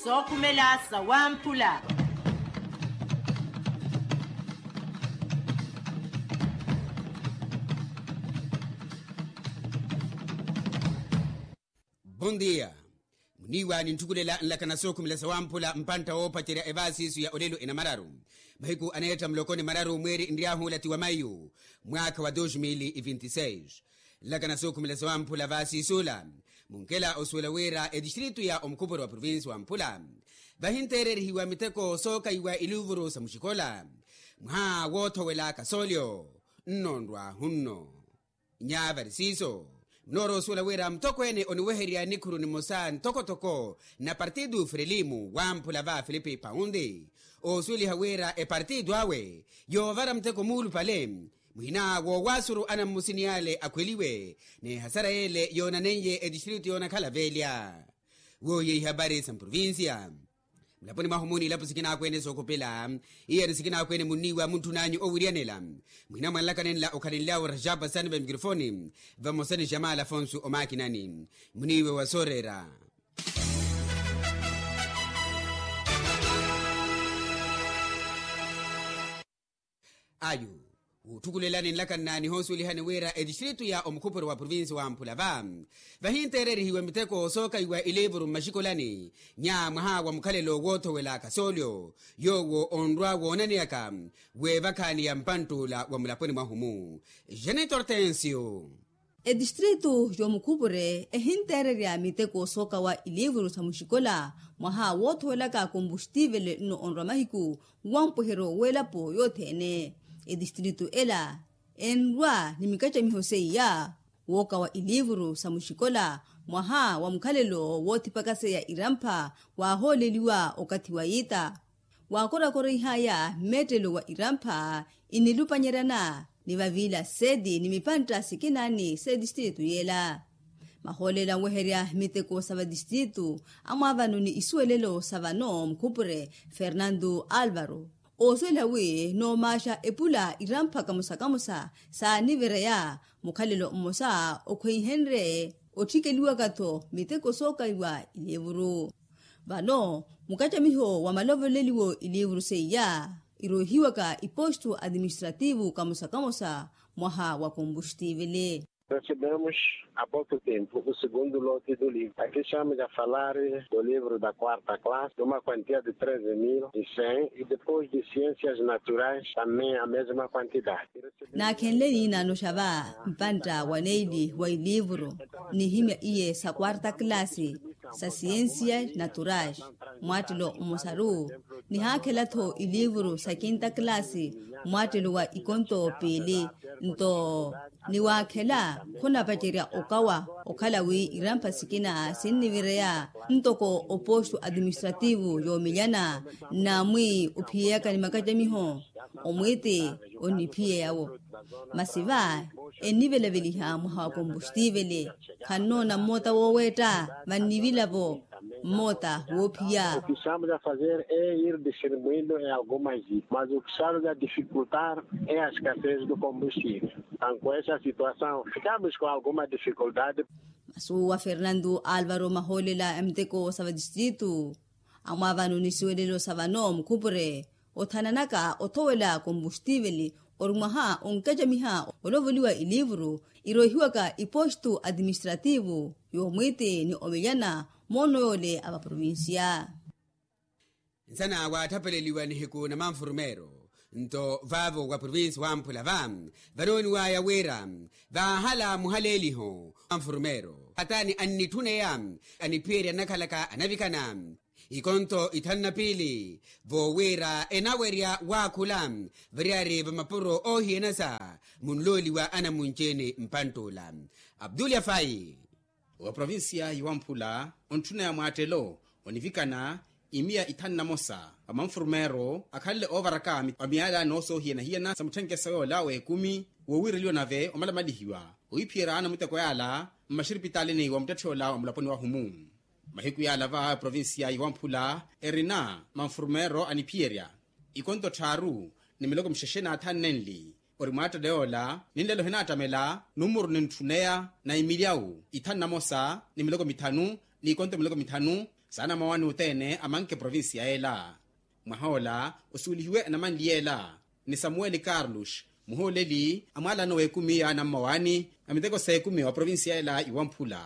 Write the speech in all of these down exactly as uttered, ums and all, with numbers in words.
Sookhumela sawamphula. Bon dia. Muniiwa ninthukulela nlakana sookhumela sawamphula mpantta woopacerya evaasiisu ya olelo enamararu. Mahiku aneetta muloko ni mararu mweeri nryahuula ti wa mayu, mwaakha wa dos mil e vinte e seis. Nlakana sookhumela sawamphula vaasiisuula, munkela osuwela wira etistritu ya omukhupuro wa provinsi wamphula vahinteererihiwa miteko sookaiwa iliuvuru sa muxikola, mwaha woothowela kasoolyo nnoonrwahu nno. Nyavari siiso, munoorosuwela wira mutokweene oniweherya nikhuru nimosa ntokotoko na partidu frelimu wamphula va filipi paundi, oosuweliha wira epartidu awe yoovara muteko muulupale, muhina woowaasuru anammusini ale akhweliwe n'ehasara yeele yoonaneiye etistritu yoonakhala velya. Wooye ihapari sa mprovinsiya. Mulaponi mwahu muuni ilapo sikinakweene sookopela, iyani sikinakweene munniiwa muntthunanyu owiryanela. Muhina mwanlaka nenla okhalenlyawo rajapa sani va mikrofoni, vamosa ni jamala afonsu omakinani. Muniiwe wa sooreera. Ayu, wutthukulelani nlakanna nihoosuwelihani wira etistritu ya omukhupuro wa provinsi wamphula va vahinteererihiwa miteko sookaiwa iliivuru mmaxikolani, nya mwaha wa mukhalelo woothowela kasoolyo yoowo onrwa woonaneyaka, weevakhaani ya mpantt'ula wa mulaponi mwahu-mu. Janito hortensio. Etistritu y'omukhupure ehinteererya miteko sookawa iliivuru sa muxikola, mwaha woothowelaka kombuxtivele nno onrwa mahiku, wa mpweheryo w'elapo yothene. Etistritu ela enrwa ni mikacamiho seiya, wookawa iliivuru sa muxikola, mwaha wa mukhalelo woothipaka seiya irampha, waahooleliwa okathi wa yiita. Waakorakoreihaya mmeettelo wa irampha, inilupanyeryana ni vaviila seti ni mipantta sikinaani s'etistritu yeela. Mahoolela nweherya miteko sa vatistritu, amwaavano ni isuwelelo sa vano mukhupure fernando alvaro, oosuwela wi noomaaxa epula irampha kamosa kamosa saanivereya mukhalelo mmosa okhweihenrye otthikeliwaka-tho miteko sookaiwa iliivuru. Vano mukacamiho wa malovoleliwo iliivuru seiya, iroihiwaka ipostu atiministrativu kamosa kamosa mwaha wa kombuxtivili. Recebemos há pouco tempo o segundo lote do livro. Aqui estamos a falar do livro da quarta classe, de uma quantia de treze mil e cem, e depois de ciências naturais, também a mesma quantidade. Naakhenle niinaano xa va mpantta wa neili wa iliivuru, nihimya iye sa quarta classe, sa ciências naturais, mwaattelo mmosaru, nihaakhela-tho iliivuru sa quinta classe, mwaattelo wa ikonto piili. Nto niwaakhela khunapacerya okawa, okhala wi irampha sikina sinnivireya ntoko opostu atiministrativu yoomelyana, namwi ophiyeyaka ni makacamiho, omwiiti oniphiyeya-wo. Masi va ennivelaveliha mwaha wa kombuxtivili, khannoona mmoota wooweetta, vannivila-vo mmoota woophiya. O que estamos a fazer é ir distribuindo em algumas ilhas, mas o que estamos a dificultar é a escassez do combustível. Então, com essa situação, ficamos com alguma dificuldade. Masi owo wa fernando alvaro mahoolela a miteko sa vatistritu, amwaavano ni suwelelo sa vano mukhupure, othananaka othowela kombuxtivili, ori mwaha onkacamiha olovoliwa iliivuru iroihiwaka ipostu atiministrativu yoomwiiti ni omelyana moono yoole a vaprovinsiya. Nsana waatthapeleliwa nihiku na manfurumero, nto vaavo wa provinsi wamphula va vanooniwaya wira vaahala muhaleeliho manfurumero atani annitthuna eya aniphiyerya nnakhalaka anavikana ikonto ithanu na piili, voowira enawerya waakhula variyari va mapuro oohiyanasa munlooliwa anamunci-ene mpantt'ula. Abdul yafai. Wa provinsiya yiwamphula ontthuneya mwaattelo onivikana imiya ithanu na mosa va manfurumero akhanle oovaraka wa miyaala noosoohiyana-hiyana sa mutthenkeso yoola w'ekumi, woowireliwa nave omalamalihiwa ohiphiyerya ana muteko yaala mmaxiripitaalini wa muttetthe ola wa mulaponi wahu-mu. Mahiku yaala va provinsiya yiwamphula erina manfurumero aniphiyerya ikonto tthaaru ni miloko mixexe n'athanu nenli, ori mwaattelo yoola ninlelo hinaattamela numuru nintthuneya na imilyawu ithanu na mosa ni miloko mithanu n'ikonto miloko mithanu saana mawani othene amanke provincia ela. Mwaha ola osuwelihiwe anamanli ela ni samuweli carlos, muhooleli a mwalano w'ekumi ya anammawani a miteko s'ekumi wa provincia ela iwamphula.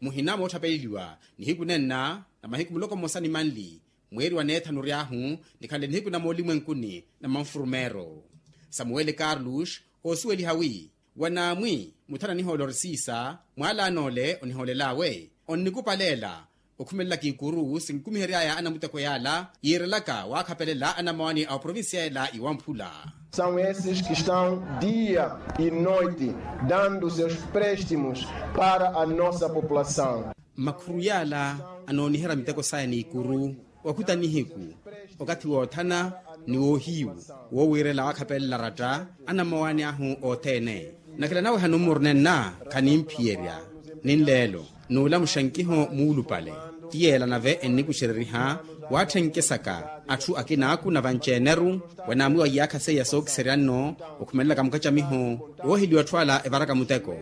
Muhina moottapeleliwa nihiku nenna na mahiku muloko mmosa ni manli mweeri wa neethanu ry'ahu, nikhanle nihiku na moolimwenkuni na manfurumeero. Samuweli carlos oosuweliha wi wanaamwi muthana nihoolori siisa mwaalano ole onihoolel'awe onnikupaleela okhumelelaka ikuru sinkikumihery'aya anamuteko y'ala yiirelaka waakhapelela anamawani a oprovincia ela iwamphula. São esses que estão dia e noite dando seus préstimos para a nossa população. Makhuru y'ala anooniherya miteko saya n'ikuru wakuta nihiku okathi woothana ni woohiyu woowiirela waakhapelela ratta anamawani ahu othene. Nakela nawe hanummuru nenna khanimphiyerya ninleelo n'ula muxankiho muulupale ti yeela nave ennikuxereriha waatthenke saka atthu akinaaku na vanci-eneru wanaamwiwa iyaakha seiya sookiserya nno okhumelelaka mukacamiho wooheliwa atthu ala evaraka muteko.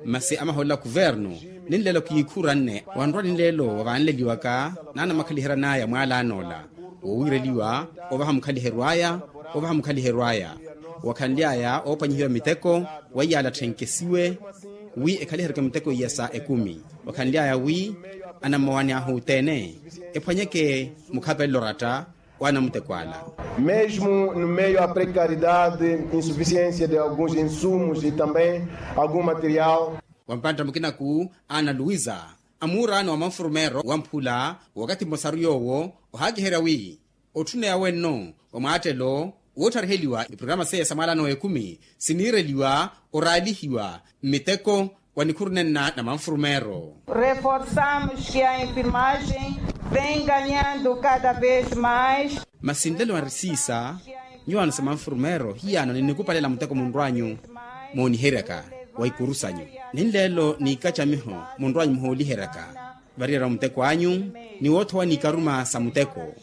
Masi amahoolela kuvernu ninleelo kiikhuranne wanrwa ninleelo wa vaanleliwaka n'anamakhalihera n'aya mwaalano ola woowiireliwa ovaha mukhaliheryo aya ovaha mukhaliheryo aya. Wakhanly'aya oopwanyihiwa miteko wa iyaala atthenke siwe wi ekhaliheryeke miteko iya sa ekumi. Wakhanly'aya wi anammawani ahu othene ephwanyeke mukhapelelo ratta wa anamuteko ala. Mesmo no meio a precariedade insuficiência de alguns insumos e também algum material. Wa mpantta mukinaku ana luisa a muuraano wa manfurumeero wamphula wakathi mmosaru yoowo ohaakiherya wi otthuneya wenno wa mwaattelo woothariheliwa iprograma seiya sa mwaalano w'ekumi siniireliwa oraalihiwa mmiteko wa nikhuru nenna na manfurumeero. Reforçamos que a enfermagem vem ganhando cada vez mais. Masi nlelo ari siisa nyuwaano sa manfurumeero hiyaano ninikupalela muteko munrw'anyu mooniheryaka wa ikuru sanyu ninleelo n'ikacamiho munrw'anyu muhooliheryaka variyerya muteko anyu ni woothowa n'ikaruma sa muteko.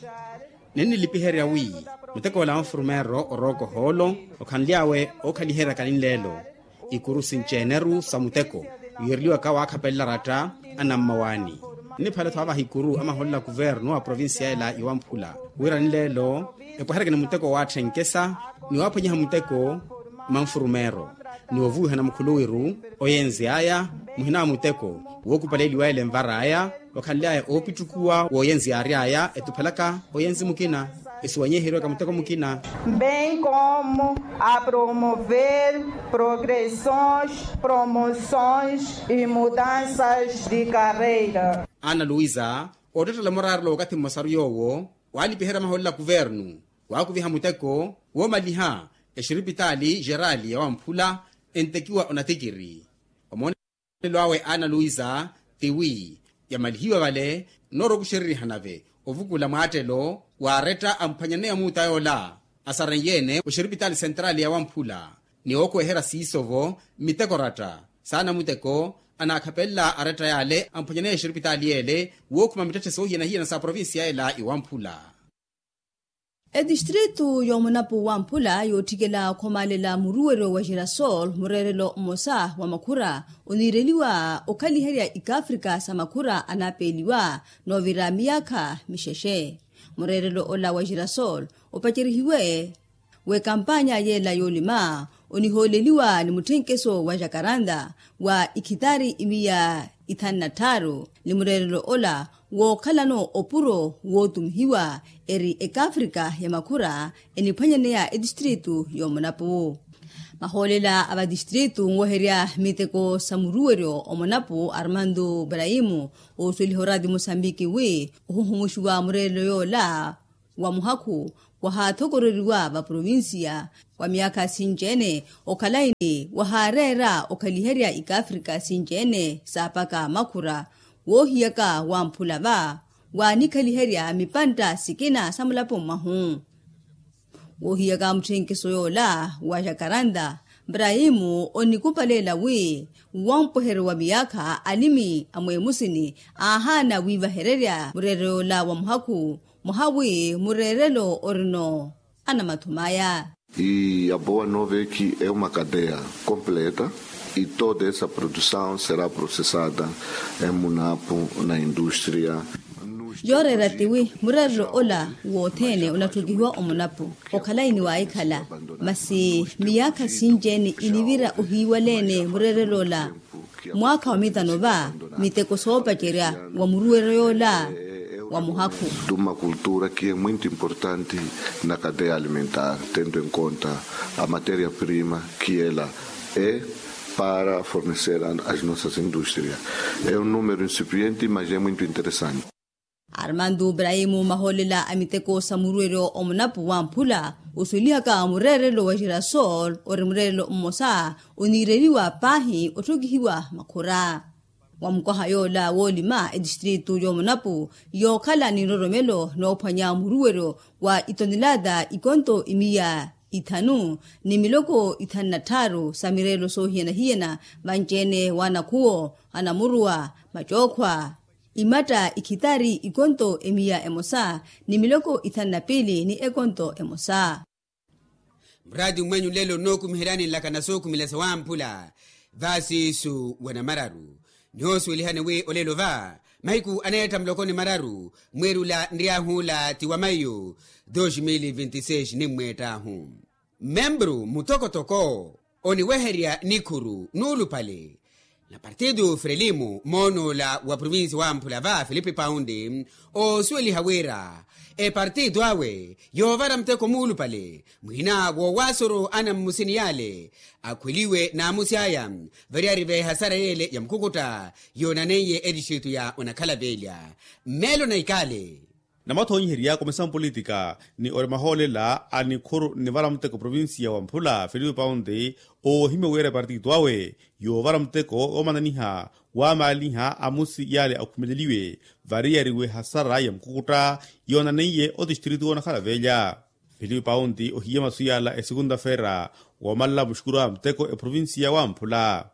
Ninnilipiherya wi muteko ola wa nfurumeeryo orooka ohoolo okhanly'awe ookhaliheryaka ninleelo ikuru sinci-eneru sa muteko wiireliwaka waakhapelela ratta anammawaani. Niphale-tho avaha ikuru amahoolela kuvernu a provincia ela iwamphula wira ninleelo epweheryeke ni muteko waatthenke sa ni waaphwanyiha muteko manfurumeeryo ni ovuwihana mukhuluwiru oyenzi aya muhina wa muteko wookupaleliwa ele nvar'aya. Okhanly'aya oopittukuwa wooyenzi yaary'aya etuphelaka oyenzi mukina esiwanyeheriwaka muteko mukina. Bem como a promover progressões promoções e mudanças de carreira. Ana luisa oottettela muraarelo wakathi mmosaru yoowo waalipiherya mahoolela kuvernu waakuviha muteko woomaliha exiripitaali xerali ya wamphula entekiwa onatikiri. Omoonelo awe ana luisa tiwi yamalihiwa vale nnoorokuxereriha nave ovukula mwaattelo waaretta amphwanyaneya muuta yoola asarenyeene oxiripitaali sentrali ya wamphula ni ookweherya siiso-vo mmiteko ratta saana muteko anaakhapelela aretta yaale amphwanyaneya exiripitaali yeele wookhuma mittetthe soohiyana-hiyana sa provincia ela iwamphula. Etistritu y'omunapu wamphula yootthikela okhomaalela muruweryo wa girasol mureerelo mmosa wa makhura oniireliwa okhaliherya ikafrika sa makhura anaapeeliwa noovira miyaakha mixexe. Mureerelo ola wa girasol opacerihiwe w'ekampanya yeela yoolima onihooleliwa ni mutthenkeso wa jakaranda wa ikhitari imiya ithanu na tthaaru ni mureerelo ola wookhalano opuro wootumihiwa eri ekafrika ya makhura eniphwanyaneya etistritu y'omunapu. Mahoolela a vatistritu nwoherya miteko sa muruweryo omunapu armando braimu oosuweliha oraati musambiki wi ohuhumuxiwa mureerelo yoola wa muhakhu wahaathokoreriwa va provincia wa myaakha sinci-ene okhalayi ni wahaareera okhaliherya ikafrika sinci-ene saapaka makhura woohiyaka wamphula va waanikhaliherya mipantta sikina sa mulapo mwahu. Woohiyaka mutthenkiso yoola wa jakaranda braimu onikupaleela wi wampweheryo wa miyaakha alimi a mweemusini aahaana wiivahererya mureerelo yoola wa muhakhu mwaha wi mureerelo orino anamathumaya. E a boa nova é que é uma cadeia completa. E toda essa produção será processada em munapu na indústria. Yooreera tiwi mureerelo ola wothene onatthukihiwa omunapu okhala iniwaahikhala. Masi miyaakha sinci-ene inivira ohiiwaleene mureerelo ola mwaakha wa mitano va miteko soopacerya wa muruweryo yoola wa muhakhu. De uma cultura que é muito importante na cadeia alimentar, tendo em conta a matéria prima que ela é para fornecer a- as nossas indústrias. É um número incipiente, mas é muito interessante. Armando brahimu mahoolela a miteko sa muruweryo omunapu wamphula osuwelihaka mureerelo wa girasol ori mureerelo mmosa oniireliwa paahi otthokihiwa makhura. Wa mukwaha yoola woolima etistritu y'omunapu yookhala ni nroromelo noophwanya muruweryo wa itonelata ikonto imiya ithanu ni miloko ithanu na tthaaru sa mireelo soohiyana-hiyana vanci-ene w'anakhuwo anamuruwa macookhwa imatta ikhitari ikonto emiya emosa ni miloko ithanu na piili ni ekonto emosa. Muraati mmwenyu nlelo nnookumiheryani nlakana sookhumela sawamphula vaasiisu wa namararu. Nihoosuwelihani wi olelo va mahiku aneetta muloko ni mararu mweerula nryahuula ti wa maiyu dos mil vinti seis nimmweettaahu. Membru mutokotoko oniweherya nikhuru nuulupale na partitu frelimu moon'ola wa provinsi wamphula va filipi paundi oosuweliha wira epartitu awe yoovara muteko muulupale muhina woowaasoro anammusini yale akhweliwe naamusi aya variyari v'ehasara yele ya mukukutta yoonaneiye etistritu ya onakhala velya. Mmeelo na ikale. Namathonyiherya komisa mpolitika ni ori mahoolela a nikhuru nnivara muteko provinsiya wa mphula filipi paundi oohimya wira epartitu awe yoovara muteko woomananiha waamaaliha amusi yale akhumeleliwe variyari w'ehasara ya mukukutta yoonaneiye otistritu woonakhala velya. Filipi paundi ohiya masu yala esekunta-feera woomalela muxukuru a muteko eprovinsiya wamphula.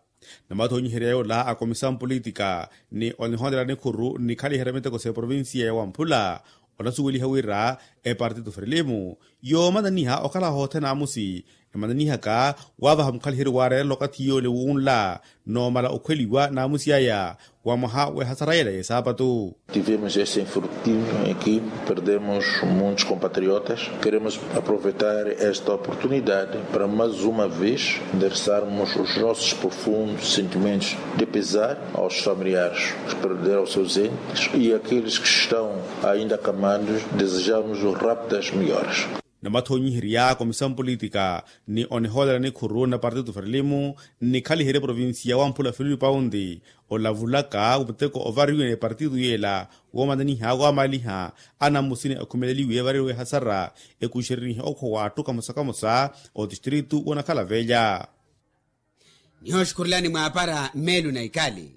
Namathonyiherya yoola a komisa mpolitika ni onihoonela nikhuru nnikhaliherya miteko s'eprovinsiya ya wamphula onasuweliha wira epartitu frelimu yoomananiha okhala hothene amusi emananihaka waavaha mukhaliheryo waareerela okathi yoole wunla noomala okhweliwa naamusi aya wa mwaha w'ehasara yela y'esaapatu. Tivemos este infortúnio em que perdemos muitos compatriotas. Queremos aproveitar esta oportunidade para mais uma vez endereçarmos os nossos profundos sentimentos de pesar aos familiares que perderam seus entes e aqueles que estão ainda acamados. Desejamos rápidas melhoras. Namathonyiherya komisa mpolitika ni onihoolera nikhuru na partitu frelimu nnikhaliherye provinsiya wamphula filipi paundi olavulaka muteko ovariwe ni epartitu yeela woomananiha waamaaliha anammusini akhumeleliwe variriwe ehasara ekuxerenihe okhwa w'atthu kamosa kamosa otistritu woonakhala velya. Nihooxukhurelani mwaapara mmeelu na ikali.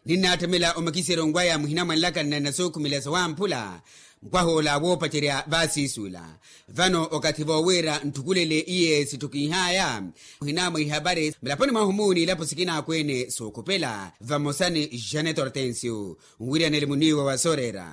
Ninnaatthemela omakiseryo nkwaya muhina mwanlaka nnanna sookhumela sawamphula mpwaha ola woopacerya vaasiisuula. Vano okathi voowira ntthukulele iye sitthukinhaya muhina mwa ihapari mulaponi mwahu muuni ilapo sikina akweene sookhopela vamosa ni janet hortensio nwiryanele muniiwa wa sooreera.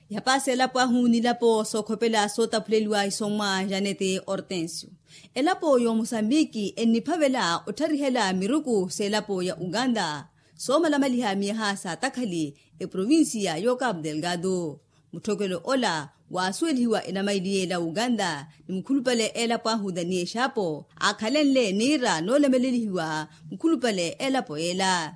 Yapaasa elapo ahu nilapo sookhopela sootaphuleliwa isommwa janete hortensio. Elapo y'omosambiki enniphavela ottharihela miruku s'elapo ya uganda soomalamaliha miyaha saatakhali eprovinsiya y'okapu delgado. Mutthokelo ola waasuwelihiwa enamaili y'ela uganda ni mukhulupale elapo ahu daniel xapo aakhalenle niira noolamelelihiwa mukhulupale elapo y'ela.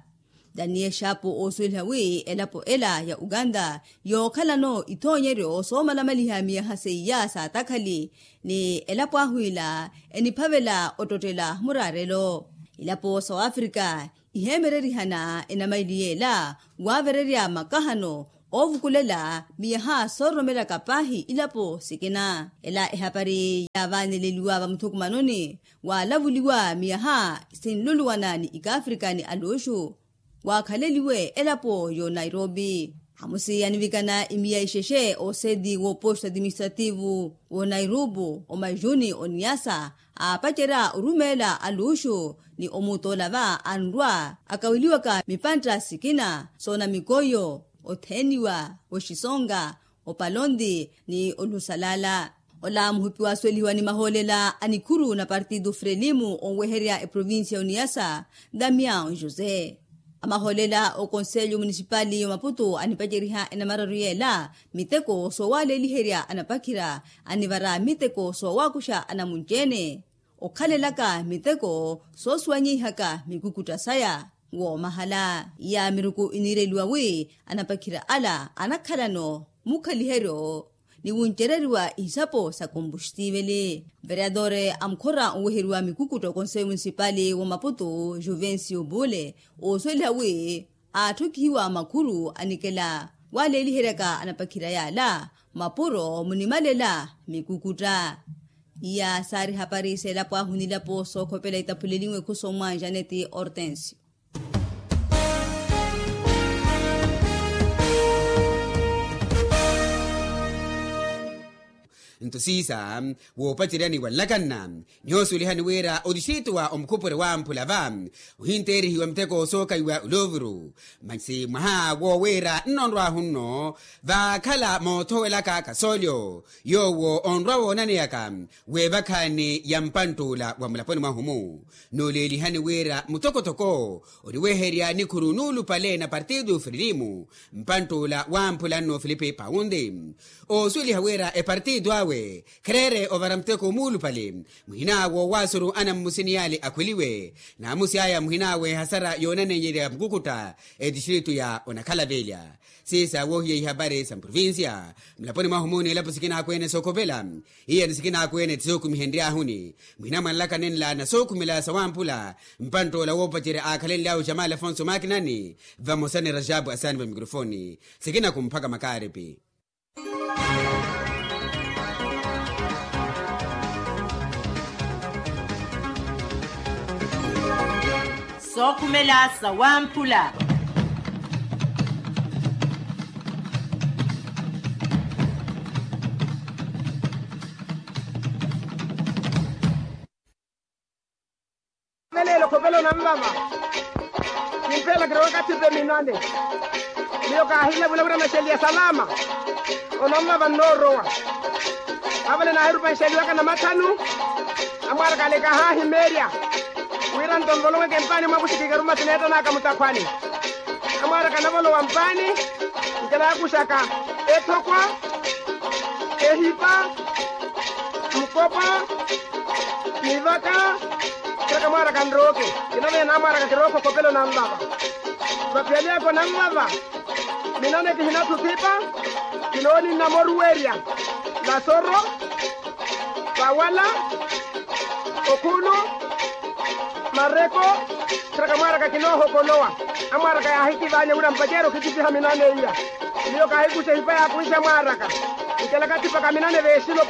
Daniel xapo oosuweliha wi elapo ela ya uganda yookhalano ithoonyeryo soomalamaliha miyaha seiya saatakhali ni elapo ahu ila eniphavela ottottela muraarelo. Ilapo sa oafrika iheemererihana enamaili y'ela waavererya makahano oovukulela miyaha soororomelaka paahi ilapo sikina. Ela ehapari yaavaaneleliwa vamuthukumanoni waalavuliwa miyaha sinluluwana ni ikaafrika ni aluxu waakhaleliwe elapo y'onairobi. Amusi anivikana imiya ixexe ooseti w'oposto administrativu w'onairobi omajuni oniasa aapacerya orumeela aluxu ni omuutoolava anrwa akaweliwaka mipantta sikina soona mikoyo otheeniwa oxisonga opalonti ni olusalala. Ola muhupi waasuwelihiwa ni mahoolela a nikhuru na partido frelimu onweherya eprovincia ya uniyasa, damiao jose. Amahoolela okonselyo munisipali ya omaputu anipaceriha enamararu yeela miteko soowaleeliherya anapakhira, anivara miteko soowakuxa anamunci-ene, okhalelaka miteko soosuwanyeihaka mikukutta saya. Woomahala iya miruku iniireliwa wi anapakhira ala anakhalano mukhaliheryo ni wuncereriwa ihisapo sa kompuxtiveli. Vereadore a mukhora onweheriwa mikukutta okonseyo munisipali wa maputu juvencio bule, oosuweliha wi aatthokihiwa makhuru anikela waleeliheryaka anapakhira yaala mapuro munimalela mikukutta. Iya saari hapari seelapo ahu nilapo sookhopela itaphuleliwe khuso mwa janeti hortensio. Nto siisa woopaceryani wa nlakanna, nihoosuwelihani wira otixiitu wa omukhupure wamphula va ohinteerihiwa miteko sookaiwa oloovuru. Masi mwaha woowiira nnonrwahu nno vaakhala moothowelaka kasoolyo yoowo onrwa woonaneyaka weevakhaani ya mpantt'ula wa mulaponi mwahu-mu. Nooleelihani wira mutokotoko oniweherya nikhuru nuulupale na partido frelimu mpantt'ula wamphula nno filipe paundi, oosuweliha wira epartido awe khereere ovara muteko muulupale. Muhin'awe owaasuru anammusi ni yaale akhweliwe naamusi aya muhin'awe ehasara yoonaneyerya mukukutta etistritu ya onakhalavelya. Siisa woohiya ihapari sa mprovincia mulaponi mwahu-mu ni ilapo sikina akweene sookhopela. Iyani sikina akweene ti sookumihenryahuni muhina mwa nlaka nenla na sookhumela sawamphula. Mpantt'ola woopacerya aakhalenly'awe jamali afonso makinani vamosa ni rajabu asaani va mikrofoni sikina kumphaka makaaripi. Sookhumela sawamphula. Veleelo khopela onanvava. Kimpeela kirowaka thipe minane. Miyo kaahina vula wira maxeliya salama. Onanvava nnoorowa. Avale naahirupa nxeliwaka namathanu. Amwaaraka ale kahaahimeerya wira nto nvoloweke mpaani mwakuxikikeru masi neettan'aka mutakhwani. Amwaaraka navolowa mpaani nkela yaakuxaka ethokwa, ehipa, mukopa, mivaka. Kheraka mwaaraka nrooke. Kinavenya namwaaraka kirooke okhopela onanvava. Vaphiyani aka onanvava. Minane kihinatthu thipa. Kinooni nnamoruwerya lasoro, pawala, okhulu, mareko. Kheraka mwaaraka kinoohokolowa. Amwaaraka yaahikivaanya wira mpacerya okhikisiha minane iya. Miyo kaahikuxa ehipa yaakunxa mwaaraka. Nkelaka thipaka minane veexilo.